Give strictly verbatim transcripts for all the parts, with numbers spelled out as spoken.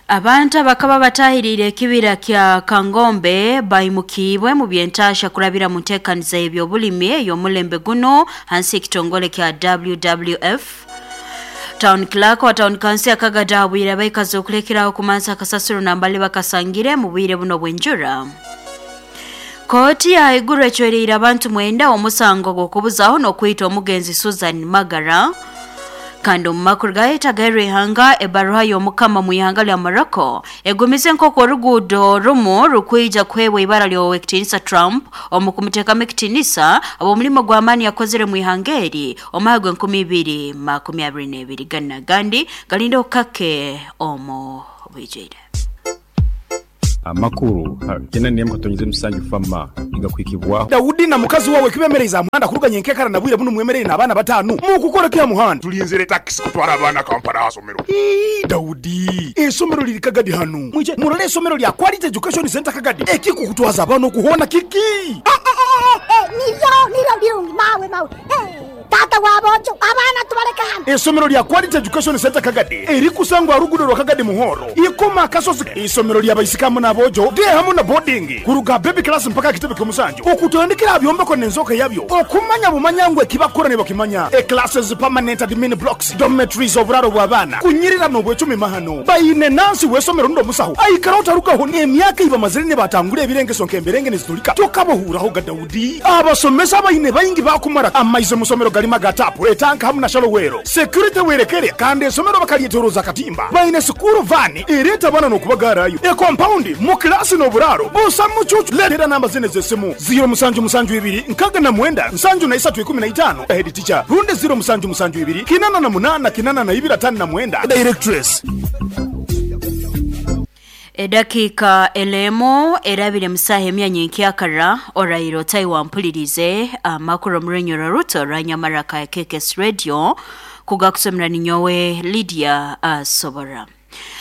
Abantu abakaba batahirire ekibira kya Kangombe baimukibwe mu byentasha kurabira mu nteekaniza y'ebyobulimi ey'omulembe guno hansi ekitongole kya W W F. Town Clerk wa Town Council akagada abwire abaikazi okulekeraho kumansa akasasiro nambali bakasangire mu bwire buno bw'enjura. Kooti ya Iguru ecwereire abantu mwenda omusango gw'okubuzaho n'okwita omugenzi Susan Magara. Kandi omu makuru gayetagairwe ihanga ebaruha y'omukama mu ihanga lya Morocco egumize nk'oku oruguudo rumu rukwija kuheebwa ibara ly'owekitinisa Trump omu kumuteekamu ekitinisa ab'omulimo gw'amaani yakozere mu ihanga eri omwaka gw'enkumi ibiri makumi abiri n'ebiri. Gana gandi galinde okukake omu bwijwire. Amakuru kena niye mukatonyeze musanju fama igakwikibwa Daudi na mukazi wawe kibemereza muhanda kuruganya enkekara na bwire buno mwemerere n'abana batanu mukukora kya muhanda tulinzire taxi kutwara abana Kampala asomero. Ii Daudi esomero liri Kagadi hanu mwije murole esomero lya Quality Education Center Kagadi ekikukutwaza abana okuhona kiki niyo niyo birungi mawe mawe tata wabojo abana tubaleka hano. Esomero lya Quality Education Center Kagadi erikusangwa rugudo rwa Kagadi Muhoro ikoma kasozi. Isomero lya baisikamu nabojo de hamu na boarding kuruga baby class mpaka kitebe kyomusanju okutandikira byombeko nenzoka yabyo okumanya bumanyangwe kibakora ne bakimanya e classes permanent admin blocks dormitories oburaro bw'abana kunyirira no bwecumi mahano bayine nansi wesomero ndo musaho aikara utarukaho ni emyaka iba mazire ne batangure ebirenge sonke emberenge nezitulika tokabohuraho ga Daudi abasomesa bayine bayingi bakumara amaize musomero galima gatapu etanka hamu na shalowero security werekere kandi esomero bakalietoroza katimba bayine sukuru vani ereta bana no kubagarayo e compound mu klasi no buraro busa mucucu letera namba zene zesimu zero musanju musanju ibiri nkaga na mwenda nsanju na isatu ikumi na itano head teacher runde zero musanju musanju ibiri kinana na munana kinana na ibira tano na mwenda directress. Edakika elemo erabire musahe emyanya nkyakara orairo Taiwan mpulirize amakuru murenyora ruto ranyamaraka ya K K S Radio kugakusomera ninyowe Lydia Asobora.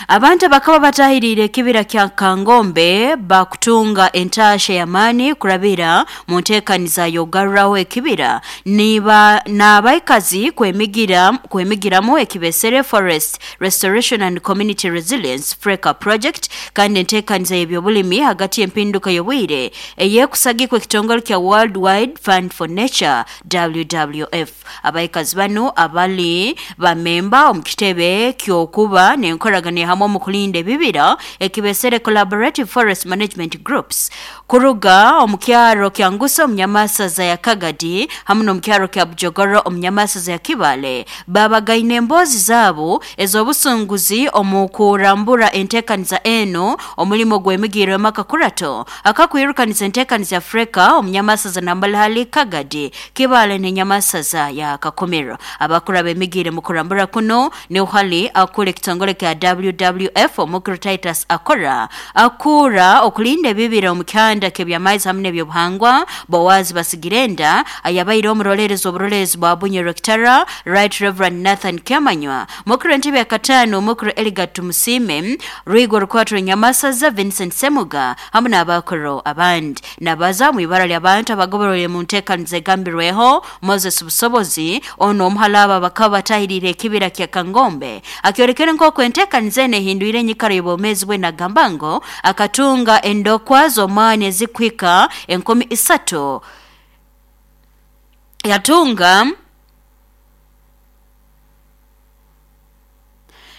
Abantu bakaba batahirire kibira kya Kangombe bakutunga entashe ya mani kurabira mu nteekaniza yogarraho ekibira niba n'abaikazi kwemigira kwemigiramu ekibesere Forest Restoration and Community Resilience Freka Project kandi enteekaniza y'ebyobulimi hagati y'empinduka y'obwire eyekusagikwa ekitongole kya World Wide Fund for Nature W W F. Abaikazi bano abali bamemba omu kitebe ky'okuba n'enkoragana hamwe mu kulinda ebibira ekibesere Collaborative Forest Management Groups kuruga omukyaro kya Nguso omunyamasaza ya Kagadi hamwe n'omukyaro kya Bujogoro omunyamasaza ya Kibale babagaine embozi zaabo ez'obusunguzi omu kurambura enteekaniza eno omulimo gw'emigiro emakakurato akakwirukaniza enteekaniza Afrika omunyamasaza nambalahali Kagadi Kibale n'enyamasaza ya Kakomero. Abakura b'emigiro mu kurambura kuno ni uhali akura ekitongole kya W W F omukuru Titus akora akura okulinda ebibira omukyanda kebyamaizi hamwe n'ebyobuhangwa Bowazi Basigirenda ayabaire omurolerezi oburolerezi bwa Bunyoro Rectora Right Reverend Nathan Kemanywa mukuru entebe ya katano mukuru Eligat Tumusime Rwigo Rukwatro Nyamasaza Vincent Semuga hamwe n'abakuru abandi nabaza mu ibara ly'abantu abagoborore mu nteekaniza egambirweho Moses Busobozi ono omuhalaba bakaba batahirire ekibira kya Kangombe akyorekere nk'oku enteekaniza eno ehindwire enyikara y'obwomeezi bwe nagambango akatunga endokwa z'omwani ezikwika enkumi isatu yatunga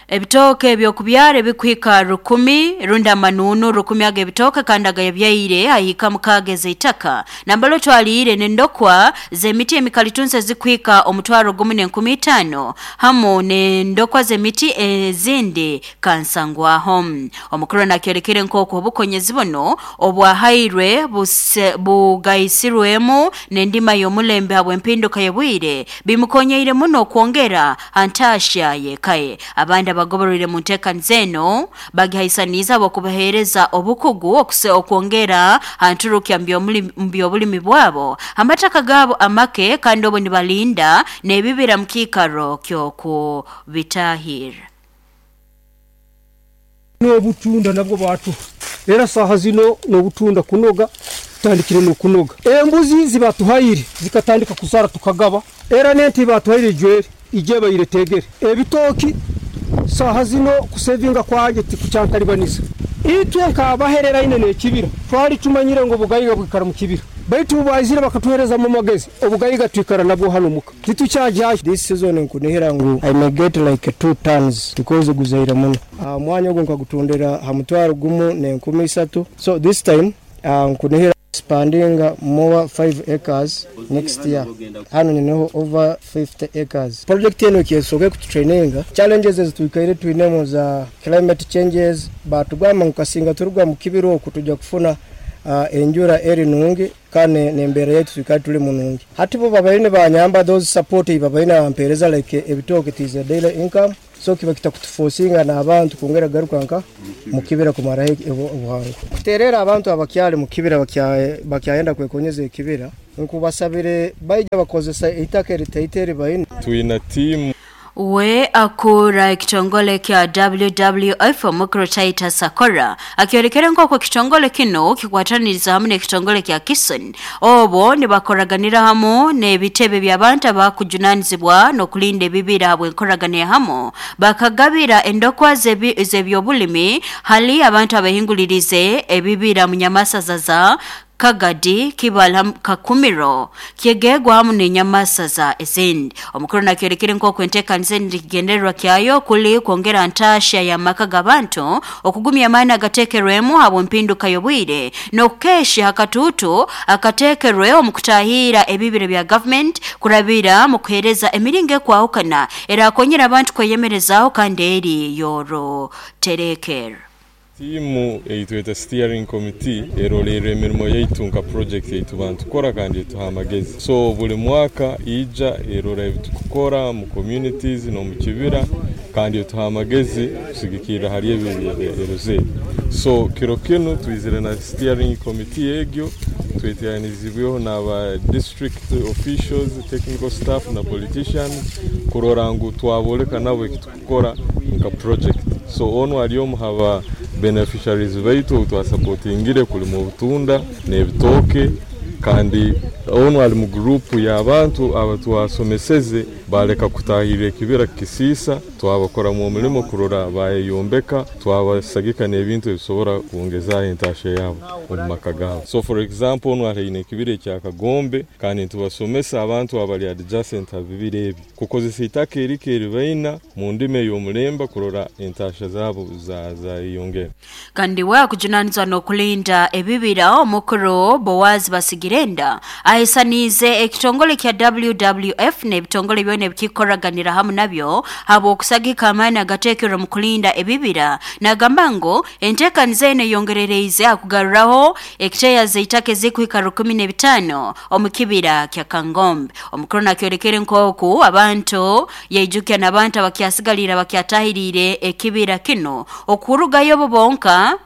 ebitoke ebyokubyara ebikwika rukumi runda manunu rukumi aga ebitoke kandi agayabyaire ahika mukageza itaka nambalo twaliire nendokwa zemiti emikalitunse zikwika omutwaro gumu n'enkumi itaano hamu nendokwa zemiti ezindi kansangwaho. Omukuru nakyorekere nk'oku obukonyezi buno obwahairwe bugaisirwemu n'endima y'omulembe habw'empinduka y'obwire bimukonyeire muno okwongera antasha yekaye. Abandi abagoborere mu nteekaniza eno bagihaisaniza abokubaheereza obukugu okuse okwongera anturukya mu byobulimi bwabo amataka gaabo amake kandi obo nibalinda n'ebibira mu kiikaro ky'okubitahira. N'obutunda nabwo batu era saha zino n'obutunda kunoga tutandikire n'okunoga embuzi zibatuhaire zikatandika kuzara tukagaba era n'ente batuhaire ijwere ije bayiretegere ebitoki Saha zino kusevinga kwange tikucyantalibaniza. Itwe nkabahereraine n'ekibira twali tumanyire ngo obugayiga bwikara mu kibira, baitu bazire bakatuhereza mu magezi obugayiga twikara nabwo hano muka titucyajyayo. This season nkunihira ngu I may get like two tons because guzaira muno. Uh, mwanya ogwo nkagutondera ha mutwaro gumu n'enkumi isatu. So this time uh, nkunihira expanding more five acres next year. Hano nineho over fifty acres. Project eno kyesoke kututraininga challenges ezituikaire twinemo za climate changes, batugamba nkasinga turugwa mu kibiro okutujja kufuna uh, enjura eri nungi kane nembera yetu tukali tuli munungi. Hati bo babaine banyamba those support babaine bampereza like ebitoke tize daily income, so kiba kitakutuforcinga n'abantu kongera garuka nka mukibira kumara obuhango. Kuterera abantu abakyali mukibira bakyayenda kwekonyeza ekibira nkubasabire baija bakozesa itaka eritaiteri baine. Twina team we akura ekitongole kya W W F omukuru Titus Sakora akyorekera nk'okwo ekitongole kino kikwataniriza hamwe n'ekitongole kya Kison obo nibakoraganira hamu n'ebitebe by'abantu abakujunanizibwa n'okulinda ebibira habw'enkoragana hamu bakagabira endokwa z'ebyobulimi hali abantu abahingulirize ebibira mu nyamasaza Kagadi Kibala Kakumiro kyegegwa hamu n'enyamasaza ezindi. Omukuru nakyorekere nk'okwo enteekaniza endigendererwa kyayo kuli kwongera ntaasha y'amaka g'abantu okugumya amaani agateekerwemu habw'empinduka y'obwire n'okukesha akatuutu akateekerwe omu kutahiira ebibira bya government kurabira mu kuheereza emiringo ekwahukana erakonyera abantu kweyemerezaaho kandi eri yoro terekera. Tiimu eitweta steering committee erorera emirimo yaitu nka project yaitu bantukora kandi etuha amagezi. So buli mwaka ija erora ebitukukora mu communities no mu kibira kandi etuha amagezi kusigikirira hari ebiruze. So kiro kinu twizire na steering committee egyo tweteranizibweho n'aba district officials, technical staff na politicians kurora ngu twaboleka nabo ekitukukora nka project. So ono ari omu haba beneficiaries baitu twasupportingire kulima obutunda n'ebitooke kandi ono ali mu group y'abantu abatwasomeseze baleka kutahirira ekibira kisiisa twabakora mu mulimo kurora bayeyombeka twabasagika n'ebintu ebisobora kwongezaho entasha yabo omu maka gabo. So for example ono aliine ekibira ekya Kagombe kandi ntubasomesa abantu abali adjacent abibira ebi kukozesa itaka erike eribaina mu ndimi ey'omulemba kurora entasha zabo zayeyongera. Kandi we akujunanizwa n'okulinda ebibira omukuru Bowazi Basigirenda ahisanize ekitongole kya W W F n'ebitongole byona ebikikoraganira hamu nabyo habw'okusagika amaani agateekerwa mu kulinda ebibira nagamba ngu enteekaniza eno eyongerereize akugaruraho ekiteeya z'eitaka ezikuhika rukumi n'ebitaano omu kibira kya Kangombe. Omukuru nakyorekere nk'oku abantu yaijukya n'abantu abakyasigalira bakyatahiriire ekibira kino okurugayo bo bonka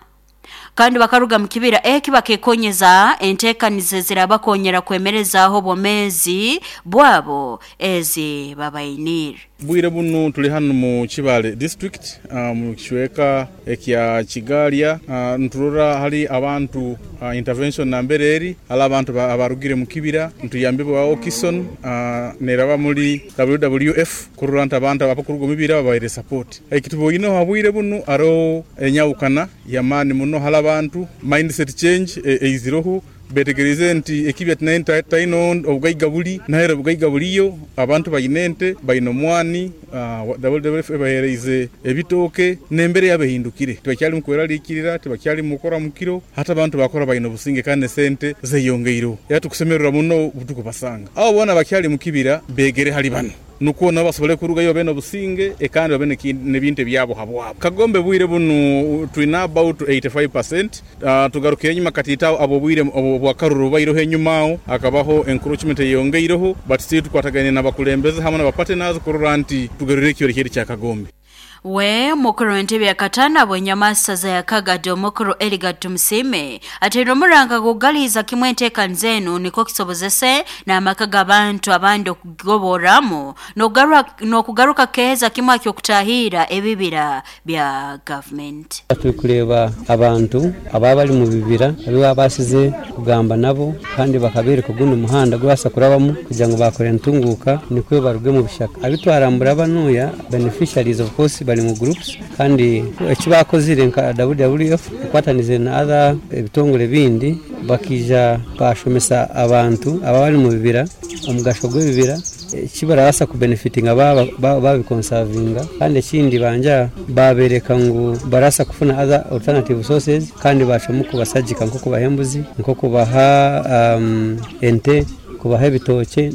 kandi bakaruga mu kibira eki bakekonyeza enteekaniza zirabakonyera kwemerezaaho obwomeezi bwabo ezi babainire. Bwire bunu tuli hano mu Kibale district uh, mu kishweka ekya Kigalya uh, nturora hali abantu uh, intervention nambere eri hali abantu abarugire mu kibira ntuyambibwa Okison uh, neraba muri W W F kurora nti abantu abakuruga mu bibira babaire support ekituboyino habwire bunu aro enyawukana yamani muno hali abantu mindset change eiziroho betegereze nti ekibya tinaine taino obugaiga buli nahera obugaiga buliyo abantu bayinente bayino mwani uh, W W F ebahereize ebitooke nembere yabehindukire tibakyali mukweraliikirira tibakyali mukora mukiro hata abantu bakora bayino businge kandi sente zeyongeiro yatukusemerera muno butuku basanga abo bona bakyali mukibira begere hali bano nuko nabo basobole kurugayo bene obusinge ekandi babene nebintu byabo habwabo. Kagombe bwire bunu twina about eighty-five percent uh, tugarukiye nyuma katita abo bwire obwakaruru bairoho enyuma akabaho encroachment yongeiroho but still tukwataganye n'abakulembeze hamwe n'abapartners kurora nti tugarure ekyo kiri kya Kagombe. We mukuru w'entebe ya katana bwenyamasaza ya Kagadi omukuru Eliga Tumusime ateire omuranga kugaliza kimwe enteekaniza enu niko kisobozese n'amaka g'abantu abandi okugoboramu n'okugaruka keeza kimwe aky'okutahira ebibira bya government. Turi kureba abantu ababa bari mu bibira abiba basize kugamba nabo kandi bakabereka guno muhanda gwasa kurabamu kugira ngo bakore ntunguka niko baruge mu bishaka abitwarambura banuya beneficiaries of course bari bali mu groups kandi ekibakozire nka W W F kukwatanize na other ebitongole bindi bakija bashomesa abantu ababali mu bibira omugasho gw'ebibira kibarabasa kubenefitinga babikonservinga kandi ekindi banja babereka ngu barasa kufuna other alternative sources kandi bashomu kubasajika nko kubahembuzi nko kubaha um, ente kubaha ebitoke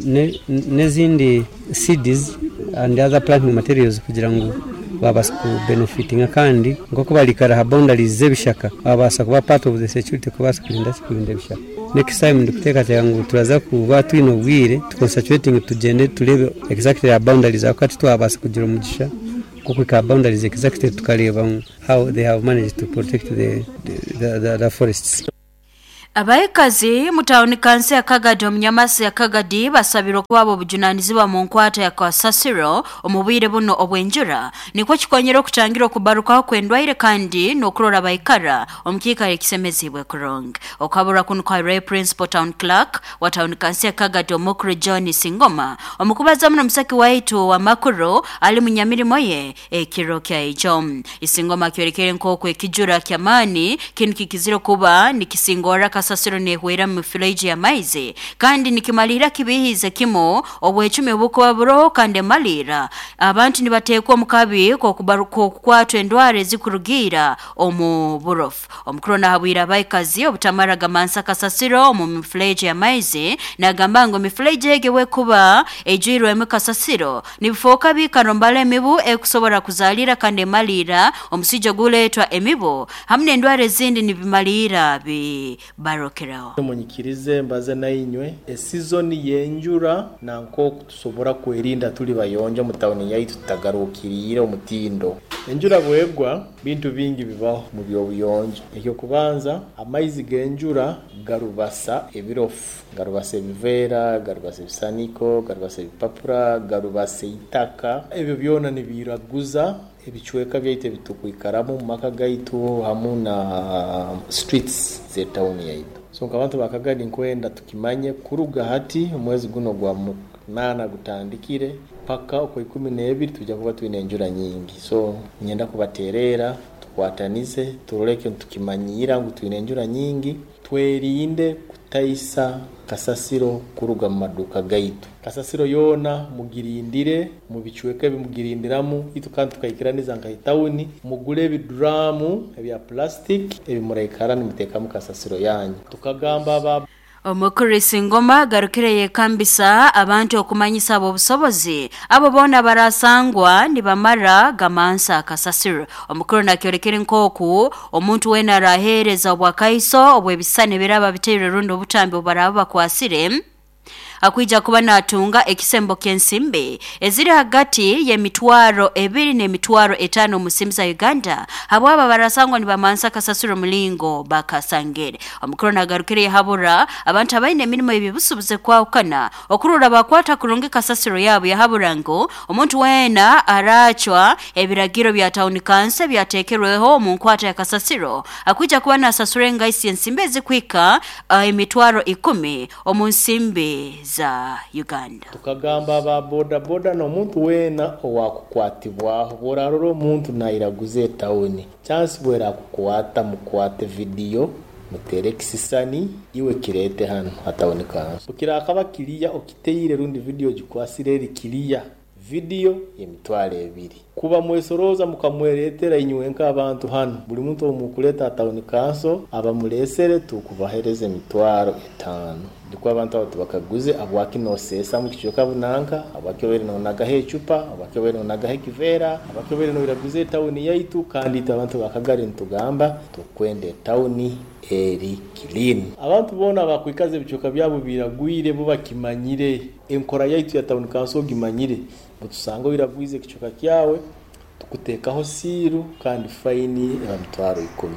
n'ezindi seeds and other planting materials kugira ngu babasa kubenefitinga kandi nko kubalikara ha boundaries z'ebishaka babasa kuba part of the security kubasa kurinda kurinda ebishaka. Next time ndikuteekateeka ngu turaza kuba twine obwire tuconcentrating tugende turebe exactly our boundaries akati twabasa kugira omugisha kukwika boundaries exactly tukareba how they have managed to protect the, the, the, the forests. Abaikazi mutauni kansi ya Kagadi omunyamasi ya Kagadi basabirwa kuba obujunanizibwa mu nkwata ya kasasiro omubwire buno obwenjura nikwo kikonyera okutangira okubarukaho kwendwaire kandi n'okurora baikara omukiika ekisemezibwe kurong. Okabura kuno kwa Ray Principal Town Clerk wa town kansi ya Kagadi omukuru John Singoma omukubaza muno musaki waitu wa makuru ali munyamirimo ye ekiro kya ijo. Isingoma kyorekere nk'oku ekijura kyamani kinu kikizire kuba nikisingora kasasiro nehwera mu mifereji ya maize kandi nikimalira kibihize kimo obwechumi obukuba buroho kandi malira abantu nibatekwa omukabi ko kukwatwa endwara zikurugira omu burofu. Omukuru nahabwira abaikazi obutamara gamansa kasasiro omu mifereji ya maize nagamba ngo mifereji egewe kuba ejwirwemu kasasiro nibifoka bikarombala emibu ekusobora kuzalira kandi malira omusijja guletwa emibu hamwe n'endwara ezindi nibimalira bi barokeraho. Munyikirize mbaze na inywe esizoni yenjura na nko tusobora kwerinda tuli bayonja mu town yaitu tutagarukirire omutindo. Enjura bwegwa bintu bingi bibaho mu byobuyonjo. Ekyo kubanza amaizi genjura garubasa ebirofu, garubasa ebivera, garubasa ebisaniko, garubasa ebipapura, garubasa itaka. Ebyo byona nibiraguza ebichweka byaitu bitukwikaramu mu maka gaitu hamu na streets ze town yaitu. So nkabantu bakagadi nkwenda tukimanye kuruga hati omwezi guno gwa munana gutandikire paka uko ikumi n'ebiri tujya kuba twine enjura nyingi. So nyenda kubaterera tukwatanize turoleke tukimanyira ngu twine enjura nyingi twerinde kutaisa kasasiro kuruga mu maduka gaitu. Kasasiro yona mugirindire mu bichweka bimugirindiramu itu kandi tukayikiraniza nka itawuni mugule ebidramu ebya plastic ebimurekara nimutekamu kasasiro yanyu. Tukagamba aba Omukuru Singoma garukire yekambisa abantu okumanyisa abo obusobozi abo bona barasangwa nibamara gamansa kasasiro. Omukuru nakyorekere nkoku omuntu wena arahereza obwakaiso obwebisane biraba biteire rundo obutambi obaraba bakwasire akuija kuba natunga ekisembo kensimbe eziri hagati ya mitwaro ebiri ne mitwaro etano musimza Uganda habwaba barasangwa nibamansa kasasiro mulingo bakasangere. Omukuru nagarukire yahabura abantu abaine emirimo ebibusubuze kwawukana okurura bakwata kurungi kasasiro yabo yahabura ngo omuntu wena arachwa ebiragiro bya town council byatekerweho mu nkwata ya kasasiro akuija kuba nasasure ngaisi ensimbe ezikwika uh, emitwaro ikumi omunsimbe za Uganda. Tukagamba ba boda boda no muntu wena owakukwatibwaho borarora omuntu nairaguze tawuni chance bwera kukwata mukwate video mutere kisisani iwe kirete hano hatawuni kanso ukirakaba kiriya okiteire rundi video gikwasire eri kiriya video yemitwaro ebiri kuba mwesoroza mukamweretera inywe nk'abantu hano buli muntu omukuleta atawuni kanso abamuresere tukubahereza emitwaro etano ndiko abantu abo tubakaguze abwaki nosesa mu kicoka bunanka abwaki obere nonagaho ecupa abwaki obere nonagaho ekivera abwaki obere noiraguze tawuni yaitu kandi abantu bakagari ntugamba tukwende tawuni eri clean. Abantu bona bakwikaze ebicoka byabo biragwire bo bakimanyire enkora yaitu ya tawuni kanso gimanyire butusanga biragwize kicoka kyawe tukutekaho siru kandi faini ya mitwaro ikumi.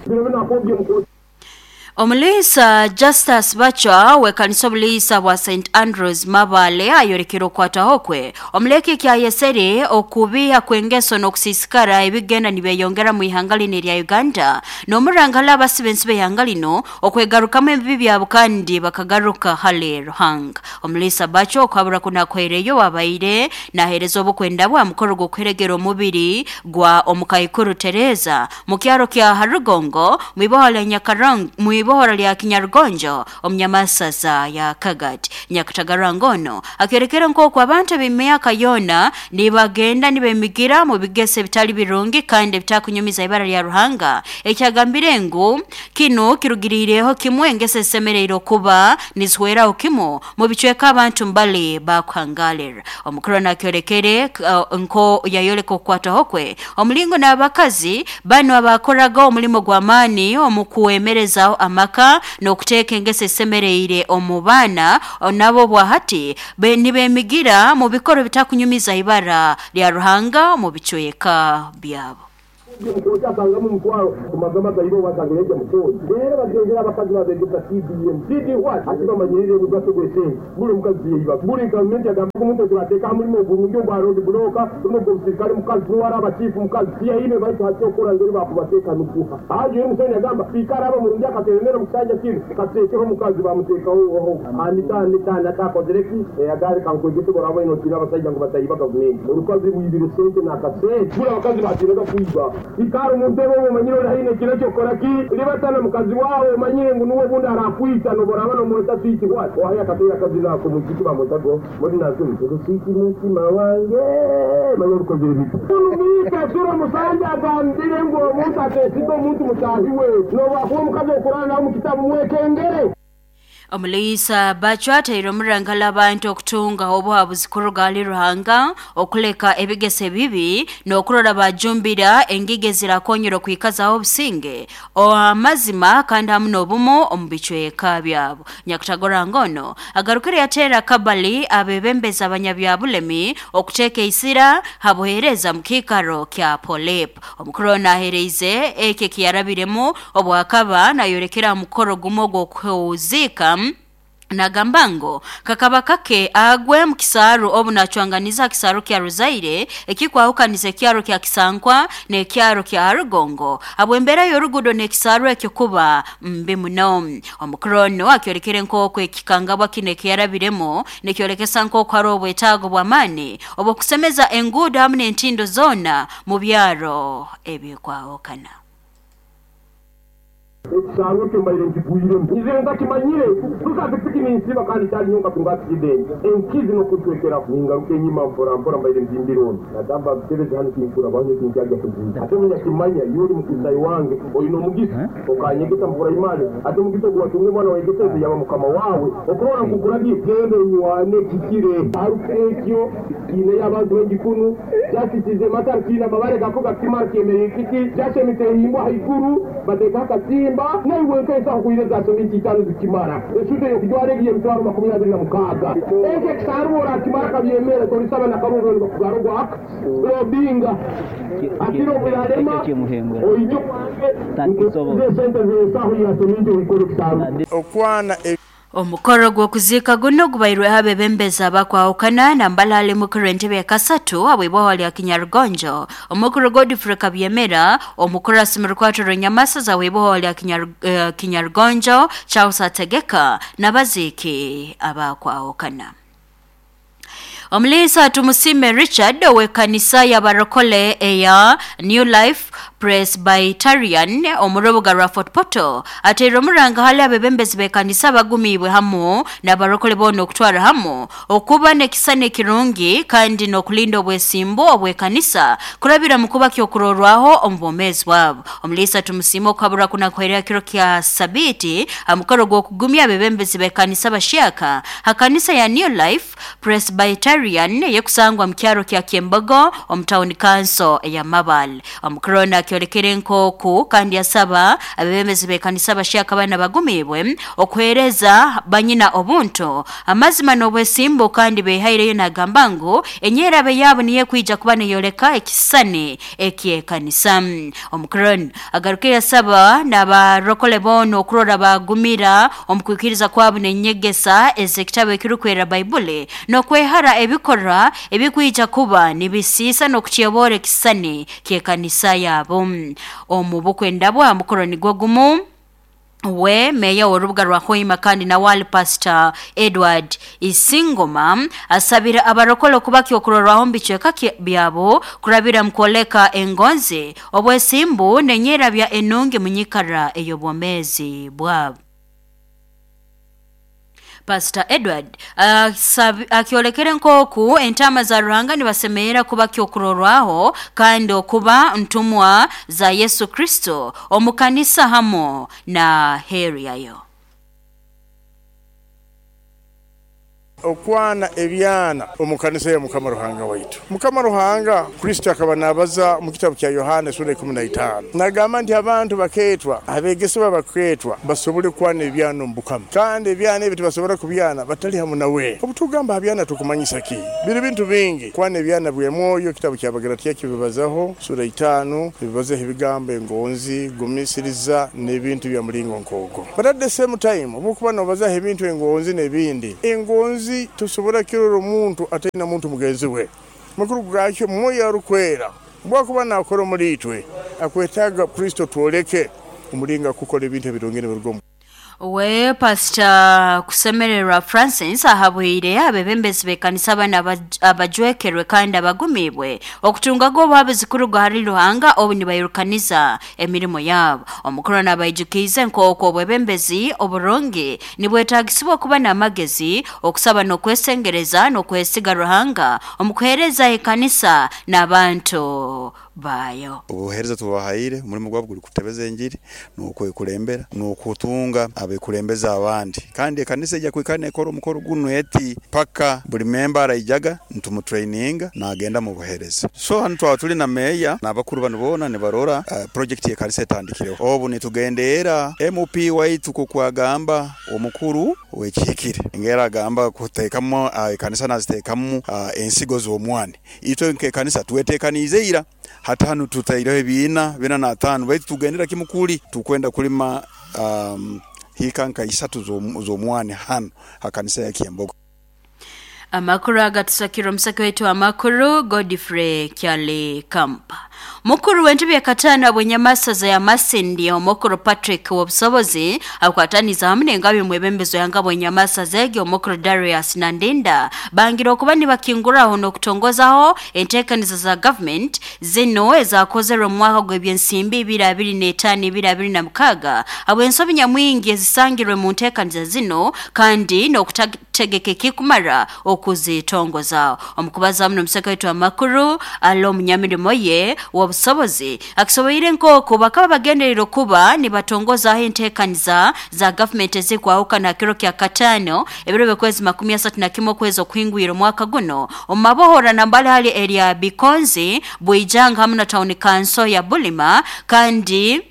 Omulisa Justus Bachwa wekanisa obulisa bwa Saint Andrews Mabale ayorekera okwataho kwe omuleke kya yesere okubiha kwengeso n'okusisikara ebigenda nibeyongera mu ihanga lino erya Uganda n'omurangala abasibensi b'ihanga lino okwegarukamu ebibi byabo kandi bakagaruka hale Ruhanga. Omulisa Bachwa okwabura kunakwereyo wabaire nahereza obukwenda bwa mukoro gw'okuheregera omubiri gwa omukaikuru Teresa mu kyaro kya Harugongo mwibohola Nyakarang mwibohora lya Kinyarugonjo omunyamasaza ya Kagati. Nyakatagarangono akerekera nk'oku abantu b'emyaka yona nibagenda nibemigira mu bigese bitali birungi kandi bitakunyumiza ibara lya Ruhanga, ekyagambire ngu kino kirugirireho kimwe engese esemereire okuba nizihweraho kimu mu bicweka abantu mbali bakuhangalira. Omukuru nakyorekere uh, nko yayoleka okukwataho kwe omulingo n'abakazi bano abakoraga omulimo gw'amaani omu kuwemerezaho amaka n'okuteeka engese esemereire omu baana nabo bwahati nibemigira mu bikoro bitakunyumiza ibara lya Ruhanga mu bicweka byabo. Mukotanga mutwaro kumagama gairo watangeje mukozi rero bagengera abakazi babegesa T D M T D what ati bamanyirire mugato gwese buri mukazi yiba buri government yagamba umuntu turateka muri mu burungi bwa road block no gusirikare mukazi wara abachifu mukazi yaine baitu hacyokora ngeri bakubateka nukuha aje umusoni yagamba fikara aba murungi akateremera musanja kinu katekeho mukazi bamutekaho oho anita anita natakozereki yagari kankwegese gorabo ino tira abasajja ngo batayiba government urukazi rwibire sente nakasente buri abakazi batirega kuiba ikaro umuntu wo manyiro rahine kino cyo kora ki libatana mukazi wawe manyire ngo nuwe bundi arakwita no boraba no mweta switi what wahaya katera kazi nako mukiki bamutago muri nazo switi mutima wange manyiro kozire bitu numika sura musanja agambire ngo omuntu atesigo omuntu mutahi we no bakuwa mukazi okurana nawo mu kitabu mwekengere. Omulisa Bachwa ataire omurangala abantu okutunga obuhabuzi kuruga hali Ruhanga okuleka ebigese bibi n'okurora bajumbira engige zirakonyera okwikazaho obusinge amazima kandi hamu n'obumu omu bicweka byabo. Nyakutagora ngono agarukire yateera kabali abebembeza abanyabyabulemi okuteeka isira habuhereza mu kiikaro kya Polep. Omukuru ono ahereize eki ekiyarabiremu obwakaba nayorekera mukoro gumu ogw'okuziika Nagambango kakaba kake agwe mu kisaaru obu nachwanganiza kisaaru kya Ruzaire ekikwahukaniza ekyaro kya Kisankwa n'ekyaro kya Harugongo abwembera y'orugudo n'ekisaaru ekyo kuba mbi muno. Omukuru ono akyorekere nk'oku ekikangabwa kino ekiyarabiremu nekyorekesa nk'oku hariho obwetaago bw'amaani obw'okusemeza enguudo hamu n'entindo zoona mu byaro ebikwahukana. Ekisaaru kyo mbaire nkigwiremu nizire ntakimanyire tukapikipiki ninsiba kandi kyali nyonka tunga accident enkizi nokutwekera ningaruka enyima mpora mpora mbaire nzimbironi nagamba bitebeze hano kinkura banye kinkyajya kuzinda ate munyakimanya yuri mukisayi wange oyina omugisa okanyegesa mpora imali ate omugisa ogwatunga omwana wegeseze yaba mukama wawe okurora nkukuragiye genda onywane kikire aruka ekyo kiine y'abantu b'engikunu kyasikize mata kiine amabare gako gakimara kyemerera kiki kyashemitse haiguru bateeka akatimba naiwe nkesa kuireza seminti itano zikimara esute yokujwara egiye emitwaro makumi abiri na mukaaga ekyo ekisaaru orakimara kabyemere torisaba na karungo nibakugara ogwaka robinga atiro obuyarema oije kwange sente zensaho ya seminti oikore ekisaaru okwana. Omukoro gw'okuziika guno gubairweho abebembezi abakwahukana nambala ali mukuru entebe ya kasatu abw'iboho lya Kinyarugonjo omukuru Godfrey Kabyemera omukuru asimirukwato Runyamasaza w'iboho lya Kinyaru, uh, Kinyarugonjo Charles Ategeka n'abaziiki abakwahukana. Omulisa Tumusime Richard w'ekanisa y'abarokole eya New Life Presbyterian omurubuga rwa Fort Portal ateire omuranga hali abebembezi b'ekanisa bagumiibwe hamu n'abarokole boona okutwara hamu okuba n'ekisana ekirungi kandi n'okulinda obwesimbu obw'ekanisa kurabira mu kuba kyokurorwaho omu bwomeezi bwabo. Omulisa Tumusime okukabura kunakuherera kiro kya Sabiti amukoro gw'okugumya abebembezi b'ekanisa bashyaka ha kanisa ya New Life Presbyterian yekusangwa mu kyaro kya Kyembogo omu town council eya Mabale. Omukuru Akyolekere nkoku kandi asaba abebembezi b'ekanisa abashaka bana bagumibwe okuhereza banyina obuntu amazima n'obwesimbo kandi behaireyo nagamba ngu enyerabe yabo niye kwija kuba neyoleka ekisane ekyekanisa. Omukoroni agaruke yasaba n'abarokole bono okurora bagumira omukwikiriza kwabo n'enyegesa ez'ekitabo ekirukwera Baibuli n'okwehara ebikora ebikwija kuba nibisiisa n'okukyebora ekisane ky'ekanisa yabo. Omu bukwenda bwa mukoroni gwogumu we meya w'orubuga rwa Hoima kandi nawali Pastor Edward Isingoma asabira abarokole kubaki okurorwaho mbicweka byabo kurabira mkwoleka engonzi obwesimbu nenyera bya enungi munyikara ey'obwomezi bwabo. Pastor Edward uh, akiolekere nkoku entama za Ruhanga nibasemerera kuba kyokurorwaho kandi okuba ntumwa za Yesu Kristo omukanisa hamo na heri yayo. Okwana ebyana omukanisa ya Mukama Ruhanga waitu. Mukama Ruhanga Kristo akaba nabaza mu kitabu kya Yohana sura ikumi na itaano. Nagamba nti abantu baketwa, abegesebwa baketwa basobole kwana ebyana mu Mukama. Kandi ebyana ebi tibasobora kubyana batali hamu nawe. Obutugamba abyana tukumanyisa ki? Biri bintu bingi. Kwana ebyana bwe mwoyo, kitabu kya Bagalatia kibibazaho sura itaano, bibazaho ebigambo engonzi, gumisiriza n'ebintu bya mulingo nkogo. But at the same time, obukuba nobazaho ebintu engonzi n'ebindi. Engonzi tusobora kirora omuntu ataina muntu mugenzi we. Makuru gakyo mwoyo arukwera bwakuba nakora muri itwe akwetaga Kristo twoleke umulinga kukora ebintu ebirongere birugomo. We Pastor Kusemererwa Francis ahabwire abebembezi b'ekanisa bana abajwekerwe kandi abagumibwe okutunga go babizikuru hari Ruhanga obu nibayirukaniza emirimo yabo. Omukuru nabayijukize nkoko obwebembezi oburongi nibwetagisibwa kuba n'amagezi okusaba n'okwesengereza n'okwesiga Ruhanga omukuhereza ekanisa n'abantu bayo. Obuhereza tubahaire umurimo gwabo guri kutebeza enjiri n'okwekulembera n'okutunga abekulembeza abandi kandi ekanisa ejya kwikana ekora omukoro guno eti paka buli member araijaga ntumutraininga nagenda mu buhereza. So hanu twaba tuli na meya n'abakuru bano bona nibarora uh, project y'ekanisa etandikireho. Obu nitugendera M P waitu kukwagamba omukuru wekihikire ngera agamba kuteekamu uh, ekanisa naziteekamu uh, ensigo z'omwani. Itwe nk'ekanisa twetekanize ira hata hanu tutaireho ebiina bina na tano baitu tugendera kimukuli tukwenda kulima um, hika nka isatu z'omwani hano hakanisa ya Kiambogo. Amakuru agatusakira omusaki wetu amakuru Godfrey Kyale Kampa. Mukuru w'entebe ya katano abwenyamasaza ya Masindi omukuru Patrick Wobusobozi akwataniza hamwe n'engabi mwebembezo yanga bwenyamasaza egyo omukuru Darius Nandinda bangira okuba nibakinguraho n'okutongozaho enteekaniza za government zino ezakozerwe mu mwaka gw'ebyensimbi ibiri abiri n'etaano ibiri abiri na mukaaga abwensobi nyamwingi ezisangirwe mu nteekaniza zino kandi n'okutategeka ekikumara okuzitongoza. Omukubaza muno omusaka wetu amakuru alo munyamirimo ye wobusobozi akisoboire nkoko bakaba bagenderera kuba nibatongoza enteekaniza za government ezikwahukana kiro kya katano ebiro by'okwezi makumi asatu na kimwe okwezi okuhingwira omwaka guno omumabohora nambale hali area Bikonzi Bwijanga hamwe na town council ya Bulima kandi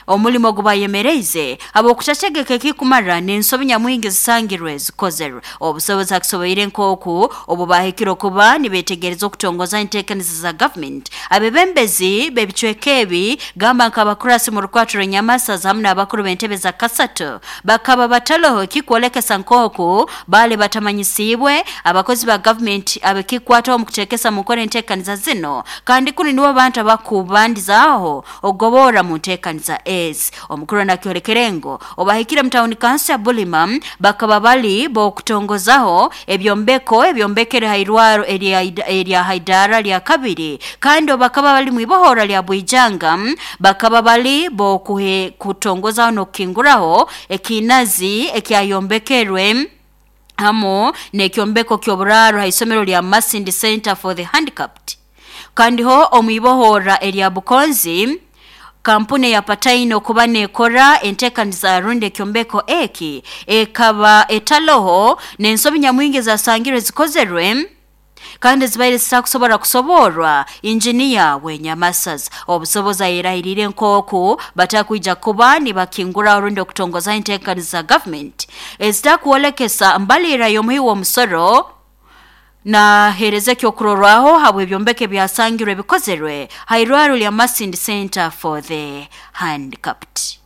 omulimo gubayemereize abo kutategeka ekikumara n'ensobi nyamwingi zisangirwe zikozerwe. Obusobozi akisoboire nkoku obu bahikire kuba nibetegereza okutongoza enteekaniza za government abebembezi b'ebicweka ebi gamba nk'abakurasi mu rukwatiro nyamasaza hamwe n'abakuru b'entebe za kasato bakaba bataloho ekikwolekesa nkoku bale batamanyisibwe abakozi ba government abekikwataho mu kutekesa mu nkora enteekaniza zino kandi kuni nibo bantu abakubandizaho ogobora mu nteekaniza es. Omukuru nakyolekerengo obahikire mutawuni kansa ya Bulima bakaba bali bokutongozaho ebyombeko ebyombekere hairwaro erya Haidara lya kabiri kandi bakaba bali mwibohora lya Bwijanga bakaba bali bokuhe kutongozaho nokinguraho ekinazi ekyayombekerwe hamo nekyombeko kyoburaro haisomero lya Masindi Center for the Handicapped kandi ho omwibohora erya Bukonzi kampuni ya Pataino kuba nekora enteekaniza runde kyombeko eki ekaba etaloho n'ensobi nyamwingi zasangirwe zikozerwe Kandi zibaire zitakusobora kusoborwa injiniya w'enyamasaza. Obusobozi ayirahirire nk'oku batakwija kuba nibakingura orundi okutongoza enteekaniza za government ezitakwolekesa mbalira y'omuhi w'omusoro na hereza ekyokurorwaho habw'ebyombeko ebyasangirwe bikozerwe hairwaro lya Masindi Center for the Handicapped.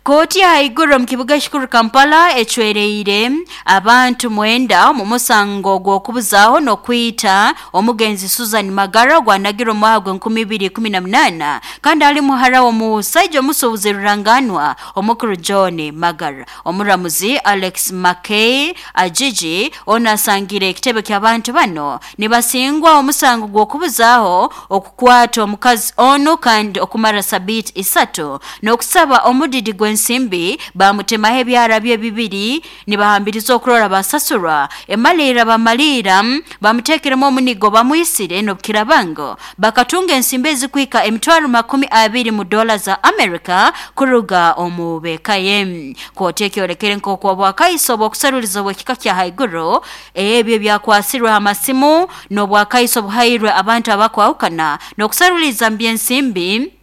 Kooti ya haiguru mu kibuga ekikuru Kampala ecwereire abantu mwenda mu musango gw'okubuzaaho n'okwita omugenzi Susan Magara gwanagirwe mu mwaka gw'enkumi ibiri ikumi na munaana kandi ali muhara w'omusajja omusuubuzi ruranganwa omukuru John Magara. Omuramuzi Alex Mackay Ajiji ono asangire ekitebe ky'abantu bano nibasingwa omusango gw'okubuzaaho okukwata omukazi ono kandi okumara sabiiti isatu n'okusaba omudidi gwe nsimbi bamutemaho ebyara bye bibiri nibahambiriza okurora basasurwa emalira bamalira bamutekeremu omunigo bamwisire n'obukirabango bakatunga ensimbi ezikwika emitwaro makumi abiri mu dola za America kuruga omu bekaye. Kooti ekyolekere nk'oku obwakaiso obw'okusaruliza obw'ekika kya haiguru ebyo byakwasirwe amasimu n'obwakaiso buhairwe abantu abakwahukana n'okusaruliza mbyensimbi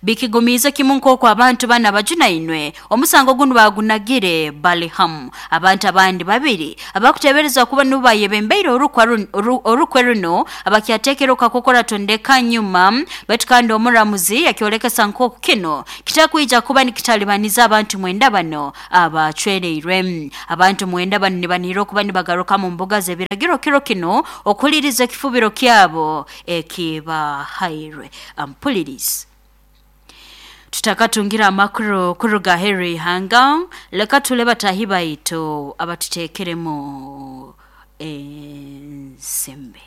bikigumiza kimu nk'oku abantu bana bajunainwe omusango guno bagunagire bali hamu. Abantu abandi babiri abakutebereza kuba nubayebembeire orukwe runo abakyatekera okakokora tondeka nyuma baitu kandi omuramuzi yakyolekesa nk'oku kino kitakwija kuba nikitalibaniza abantu mwenda bano abacwereirwe. Abantu mwenda bano nibanihira okuba nibagaruka mu mbuga z'ebiragiro kiro kino okuliriza ekifubiro kyabo ekibahairwe. Ampulirizi tutakatungira amakuru kuruga heri hanga leka tule batahi baitu abatutekeremu ensembe.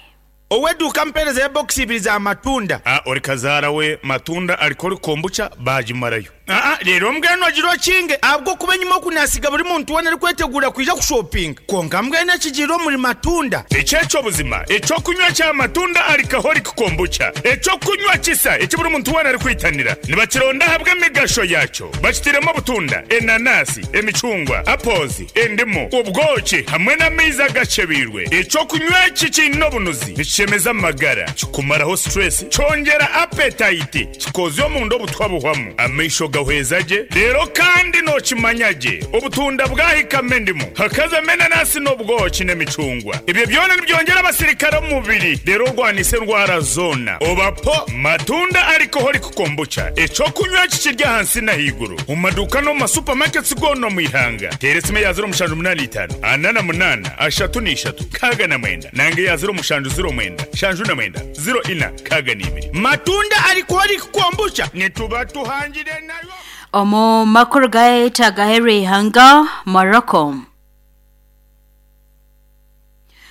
Oweduka mpereza ya box ibiri za matunda. Ah, ori kazara we matunda alikori kombucha bajimarayo. Ah ah, rero mbweno agiro kinge abwo kuba nyuma kunasiga buri muntu wana ari kwetegura kwija ku shopping. Konka mbweno kigiro muri matunda. Echecho buzima, echo kunywa cha matunda alikahori kombucha. Echo kunywa kisa ekiburi muntu wana ari kwitanira. Nibakironda habwe migasho yacho. Bakitiremo butunda, enanasi, emicungwa, apozi, endimu, ubwoki hamwe n'amaizi gachebirwe. Echo kunywa kikino bunuzi. Chemeza magara, kikumaraho stress, chongera appetite, kikozyo omundu obutwa buhwamu, amaisho gahwezaje, rero kandi no kimanyaje, obutunda bwahika mendimu, hakaza menanasi n'obwoki n'emicungwa. Ibyo byona nibyongera abasirikare mu mubiri, rero rwanise ndwara zona. Obapo matunda alcoholic kombucha, echo kunywa kikirya hansi na higuru. Mu maduka no mu supermarkets gono mu ihanga. Teresime ya zero mushanju munani itanu, anana munana, ashatu n'ishatu, kaga na mwenda, nange ya zero mushanju zero mwenda, shanju na mwenda, zero ina, kaga n'ibiri. Matunda alcoholic kombucha, nituba tuhangire nayo. Omu makuru gaeta gaheri ihanga Morocco.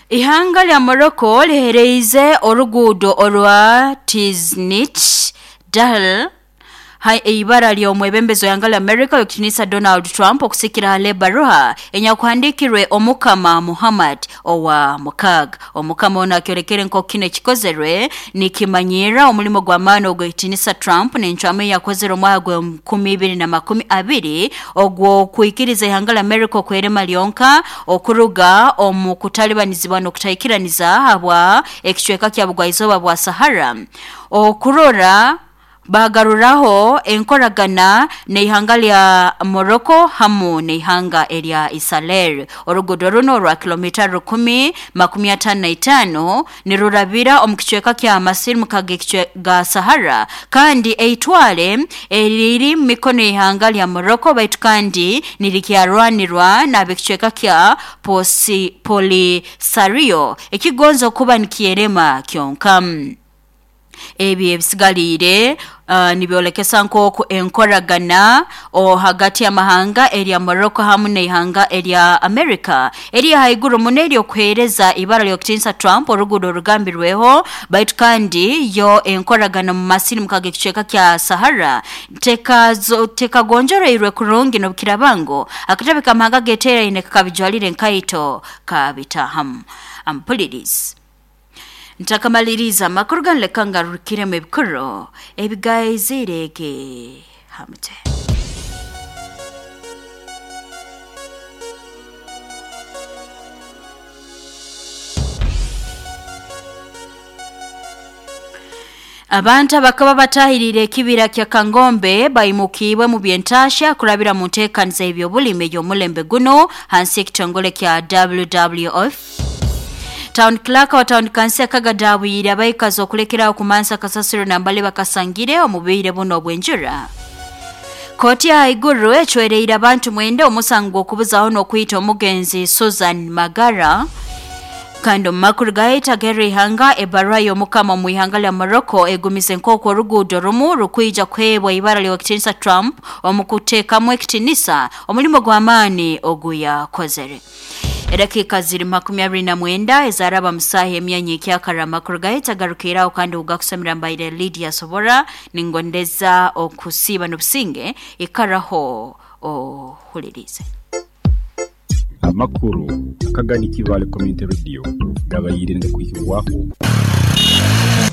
Ihanga lya Morocco lihereize oruguudo orwa Tiznit Dahl hai ibara ly'omwebembezo yanga lya America yokutinisa Donald Trump okusikira hale baruha enyakuhandikirwe omukama Muhammad owa mukaga. Omukama ono akyolekere nk'oku kino ekikozerwe nikimanyira omulimo gw'amaani ogw'ekitinisa Trump n'encwamu eyakozere omwaka gw'enkumi ibiri na makumi abiri ogw'okwikiriza ihanga lya America okwerema lyonka okuruga omu kutalibanizibwa n'okutaikiraniza habwa ekicweka kya bugwaizooba bwa Sahara okurora bagaruraho enkoragana n'ihanga lya Morocco hamu n'ihanga erya Israel. Oruguudo runo rwa kilomita rukumi makumi atano na itaano nirurabira omu kicweka kya masirimuka ga Sahara kandi eitwale eriri mu mikono y'ihanga lya Morocco baitu kandi nirikyarwanirwa n'ab'ekicweka kya Posi Polisario ekigonza okuba nikierema kyonka. Ebi ebisigalire uh, nibyolekesa nk'oku enkoragana o hagati y'amahanga erya Morocco hamu n'ihanga erya America eri haiguru muno eryokuheereza ibara ly'okutinisa Trump oruguudo orugambirweho baitu kandi yo enkoragana mu masirimuka g'ekicweka kya Sahara tekagonjoreirwe kurungi n'obukirabango akatabe k'amahanga geteeraine kakabijwalire enkaito kabitahamu. Ampulirizi ntakamaliriza amakuru ganleka ngarukiremu ebikuru ebigaizirege hamute. Abantu abakaba batahirire ekibira kya Kangombe baimukibwe mu byentasha kurabira mu nteekaniza ebyobulimi ey'omulembe guno hansi ekitongole kya W W F. Town Clerk wa Town Council Kagadi abaikazi okulekerawo kumansa kasasiro nambale bakasangire omubire buno obwenjura. Koti ya Iguru echwereire abantu mwenda omusango okubuzaho n'okuyita omugenzi Susan Magara. Kando makuru gaita Gary Hanga ebarua y'omukama mu ihanga lya Morocco egumise nk'oku oruguudo rumu rukwija kwebwa ibara ly'ekitinisa Trump omukuteekamu ekitinisa omulimo gw'amaani oguyakozere. Edakika ziri makumi abiri na mwenda ezaraba musaha emyanya ekyakara makuru gaita garukiraho kandi ugakusamira mbaire Lydia Sobora ningondeza okusiba n'obusinge ikaraho ohulirize. Amakuru Kagadi Kivale Community Radio gabayire ndakwikirwaho.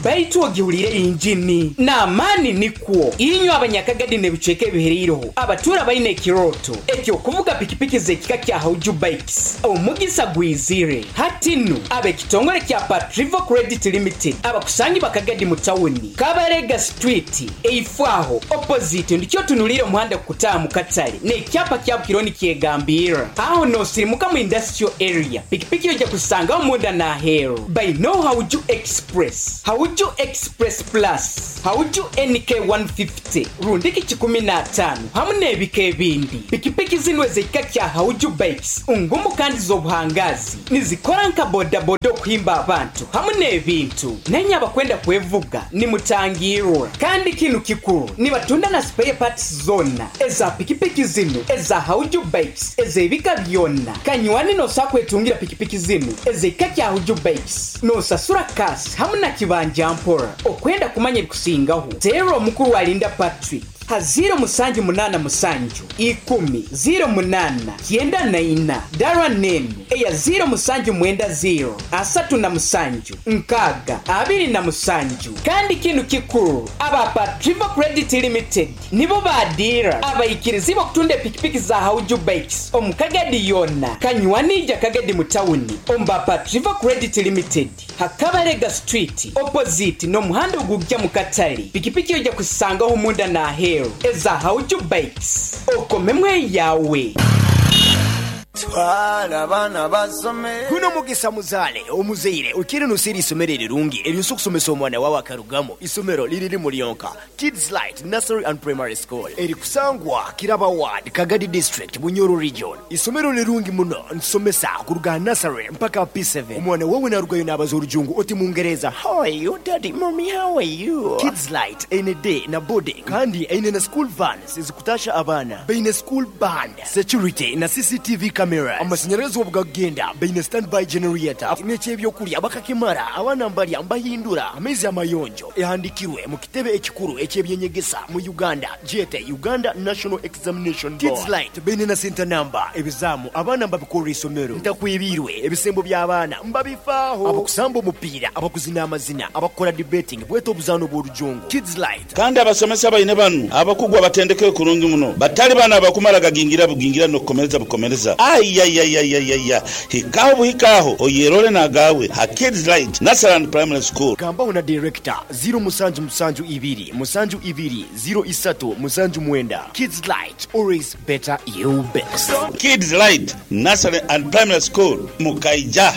Baitu ogihulire injini n'amaani nikwo inywe abanyakagadi n'ebicweka ebihereireho abatura baine ekiroto ekyokuvuga pikipiki z'ekika kya Hauju Bikes omugisa gwizire hatinu ab'ekitongole kya Patrivo Credit Limited abakusangi bakagadi mu tawuni Kabarega Street eifwaho opposite ndikyo tunulire omuhanda kutaaha mu katale n'ekyapa kya Bukironi kyegambira aho nosirimuka mu industrial area pikipiki ojja kusangaho munda n'aheeru by no Hauju Express Hauju Express Plus, Hauju N K one fifty, rundiki kikumi na tano, hamwe n'ebika ebindi. Pikipiki zino ez'ekika kya Hauju Bikes, ungumu kandi z'obuhangazi, nizikora nka bodaboda okuhimba abantu, hamwe n'ebintu. Nenye abakwenda kwevuga, nimutangirwa. Kandi kinu kikuru, nibatunda na spare parts zona, eza pikipiki zino, eza Hauju Bikes, ez'ebika byonna. Kanywani nosa kwetungira pikipiki zino, ez'ekika kya Hauju Bikes, nosasura kasi, hamwe na kibanja mpora. Okwenda kumanya ebikusingaho tero omukuru wa Linda Patrick ha zero musanju munana musanju ikumi zero munana kyenda na ina dara nenu eya zero musanju mwenda zero asatu na musanju nkaga abiri na musanju. Kandi kinu kikuru aba Patrivo Credit Limited nibo badira abayikirizi bakutunda pikipiki za Hauju Bikes omukagadi yonna kanywanija Kagadi mu tawuni omba Patrivo Credit Limited Hakabarega Street opposite n'omuhanda ogujja mu katale pikipiki ojja kusangaho munda na aheeru eza Hauju Bikes okomemwe yawe. Twala abaana basome. Guno mugisa muzale omuzeire ukiri nusiri isomero erirungi eryosa okusomesa omwana wawe akarugamo isomero liriri mulionka Kids Light Nursery and Primary School erikusangwa Kiraba Ward Kagadi District Bunyoro Region. Isomero lirungi muno nsomesa kuruga nursery mpaka P seven. Omwana wawe narugayo n'abaza orujungu oti mungereza how are you daddy mommy how are you. Kids Light N D na boarding kandi eine na school vans ezikutasha abaana baine school band security na C C T V cameras amashanyarazi obugagenda baine standby generator n'ekyebyokulya bakakimara abaana mbalya mbahindura amaizi amayonjo ehandikirwe mu kitebe ekikuru ekyebyenyegesa mu Uganda jete Uganda National Examination Board. Kids Light baine na center number ebizamu abaana mbabikorera isomero ntakwibirwe ebisembo by'abaana mbabifaaho abakusamba omupiira abakuzina amazina abakora debating bweta obuzaano bw'orujungu. Kids Light kandi abasomesa baine banu abakugwa batendeke kurungi muno batali bana abakumara gagingira bugingira n'okukomereza bukomereza ayayayayaya hikaho buhikaho oyerole nagawe ha Kids Light Nursery and Primary School. Gambaho na director zero musanju musanju ibiri musanju ibiri zero isatu musanju mwenda. Kids Light always better you best. Kids Light Nursery and Primary School mukaija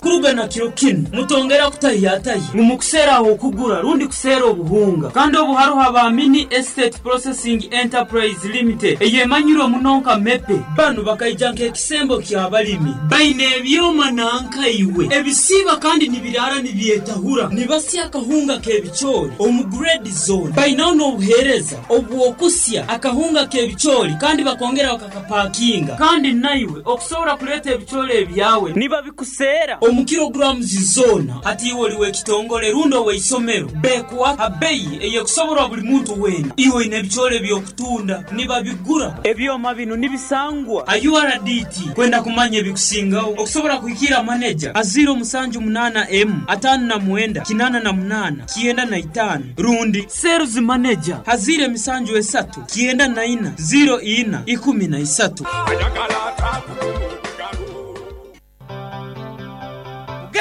Kurugana kiro kinu mutongera kutahiyatayi mumukusera aho kugura rundi kusera obuhunga kandi obuharuha ba Mini Estate Processing Enterprise Limited eyemanyirwe munonka mepe banu bakaija nk'ekisembo ky'abalimi baine ebyoma nankaiwe ebisiba kandi nibirara nibyetahura nibasya akahunga k'ebicoori omu grade zone bainaho n'obuheereza obwokusya akahunga k'ebicoori kandi bakongera bakakapakinga kandi naiwe okusobora kuleeta ebicoori ebyawe nibabikusera omu kilograms zona hati iwe oliwe ekitongole rundo weisomero bekuwa abeyi eyekusoborwa buli muntu wena iwe ine ebicoori ebyokutunda nibabigura ebyoma bino nibisangwa a U R D T kwenda kumanya ebikusingaho okusobora kuhikira manager a zero musanju munana m atano na mwenda kinana na munana kienda na itano rundi sales manager hazire misanju esatu kienda na ina zero ina ikumi na isatu.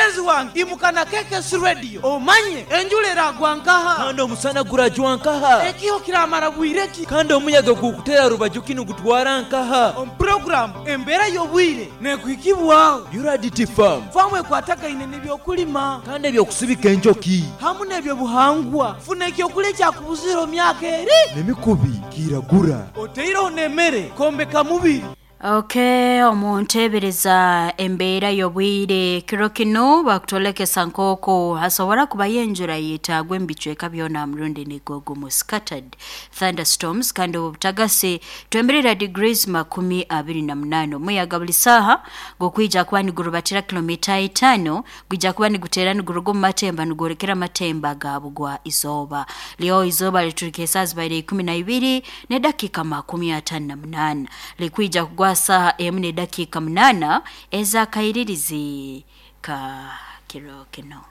Mugenzi wange imuka na K K S Radio omanye enjura eragwa nkaha kandi omusana gurajwa nkaha ekiho kiramara bwireki kandi omuyaga gukutera rubaju kinu gutwara nkaha omu program embeera y'obwire nekuhikibwaho U R D T farm famu ekwatagaine n'ebyokulima kandi ebyokusibika enjoki hamu n'ebyobuhangwa funa ekyokulya ekyakubuzira myaka eri n'emikubi kiragura oteireho n'emmere kombeka mubiri. Okay, omuntebereza embeera y'obwire kiro kino bakutolekesa nkoko hasobora kuba yenjura yetagwe embicweka byona murundi nigogo mu scattered thunderstorms kandi obutagase twemberera degrees makumi abiri na munano omuyaga buli saha gokwija kuba nigurubatira kilomita itano gwija kuba nigutera niguruga mu matemba nigurekera matemba gabugwa izoba leo izoba liturike saa zibaire ikumi na ibiri ne dakika makumi atano na munana likwija kugwa saha emu ne dakika munana eza kairirizi ka kiro kino.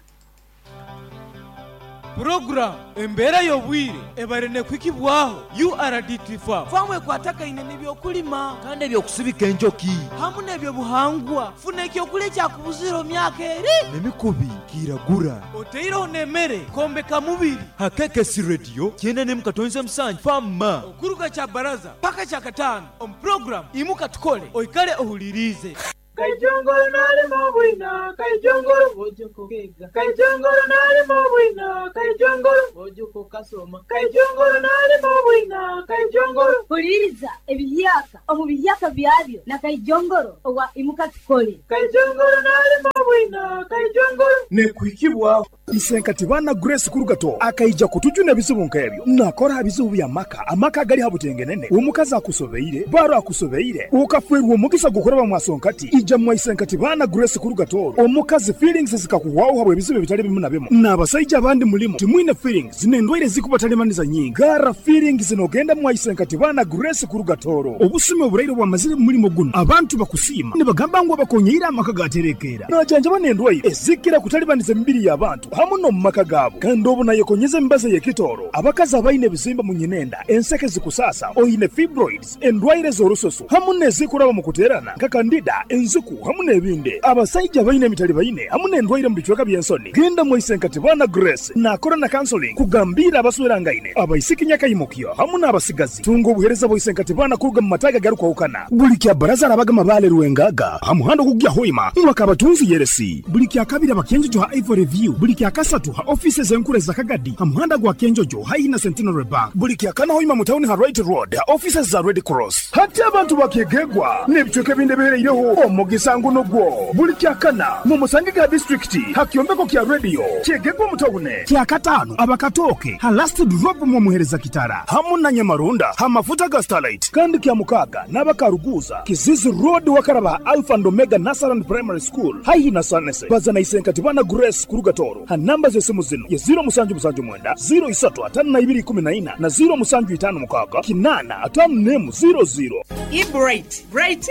Program embeera y'obwire ebare nekwikibwaho U R D T farm famu ekwatagaine n'ebyokulima kandi ebyokusibika enjoki hamu n'ebyobuhangwa funa ekyokulya ekyakubuzira myaka eri n'emikubi kiragura oteireho n'emmere kombeka mubiri ha K K S Radio kyenda n'emu katonze musanju fama okuruga kya baraza paka kya katano omu program imuka tukole oikale ohulirize. Kaijongoro nalimo bwina, kaijongoro bojoko kega. Kaijongoro nalimo bwina, kaijongoro bojoko kasoma. Kaijongoro nalimo bwina, kaijongoro. Huliriza ebiyaka omu biyaka byabyo na kaijongoro owa imuka tukole. Kaijongoro nalimo bwina, kaijongoro. Nekuhikibwa Isenkati bana Grace Kurugato akaija kutujuna ebizibu nkebyo nakora ebizibu bya maka amaka gali habutengenene omukazi akusobeire baro akusobeire ukafwerwa omugisa gukoraba mwasonkati ija mwa Isenkati bana Grace Kurugato omukazi feelings zikakuwaho habwe ebizibu bitali bimu na bimu n'abasajja abandi mulimu timwine feelings nendwaire zikubatalemaniza nyingi gara feelings nogenda mwa Isenkati bana Grace Kurugatoro obusime oburaire bwamazire mulimo guno abantu bakusima nibagamba ngo bakonyeira amaka gaterekera najanja banendwaire ezikira kutalibaniza emibiri y'abantu hamu no mumaka gabo kandi obu nayekonyeza embaza yekitoro abakazi abaine ebizimba mu nyinenda enseke zikusasa oine fibroids endwaire z'orusoso hamu nezikuraba mu kuterana nka kandida enzuku hamu n'ebindi abasajja baine emitali baine hamu n'endwaire mu bicweka by'ensoni genda mu Isenkati bana Grace nakora na counseling kugambira abaswerangaine abaisiki nyakayimukyo hamu n'abasigazi tunga obuhereza bwa Isenkati bana kuruga mu mataga garukwahukana buli kya baraza arabaga mabale ruwengaga hamuhando kugya hoima mwakabatunzi yeresi buli kya kabiri abakenjojo ha Ivory View buli kya kasatu ha offices enkure za Kagadi hamuhanda gwa Kenjojo haina Centenary Bank buli kya kana hoima mu town ha Right Road ha offices za Red Cross hati abantu bakegegwa n'ebicweka ebindi ebihereireho omugisa nguno gwo buli kya kana mu Musangiga district ha kyombeko kya radio kyegegwa mu town kya katano abakatoke ha last drop mu muhereza kitara hamu na Nyamarunda ha mafuta ga Starlight kandi kya mukaga n'abakaruguza Kizizi Road wakaraba Alpha and Omega Nasaran Primary School haihi na Sanese bazana Isenkati bana Grace Kurugatoro ha namba z'esimu zino ye zero musanju musanju mwenda zero isatu atano na ibiri kumi na ina na zero musanju itano mukaga kinana atano nemu zero zero. I bright bright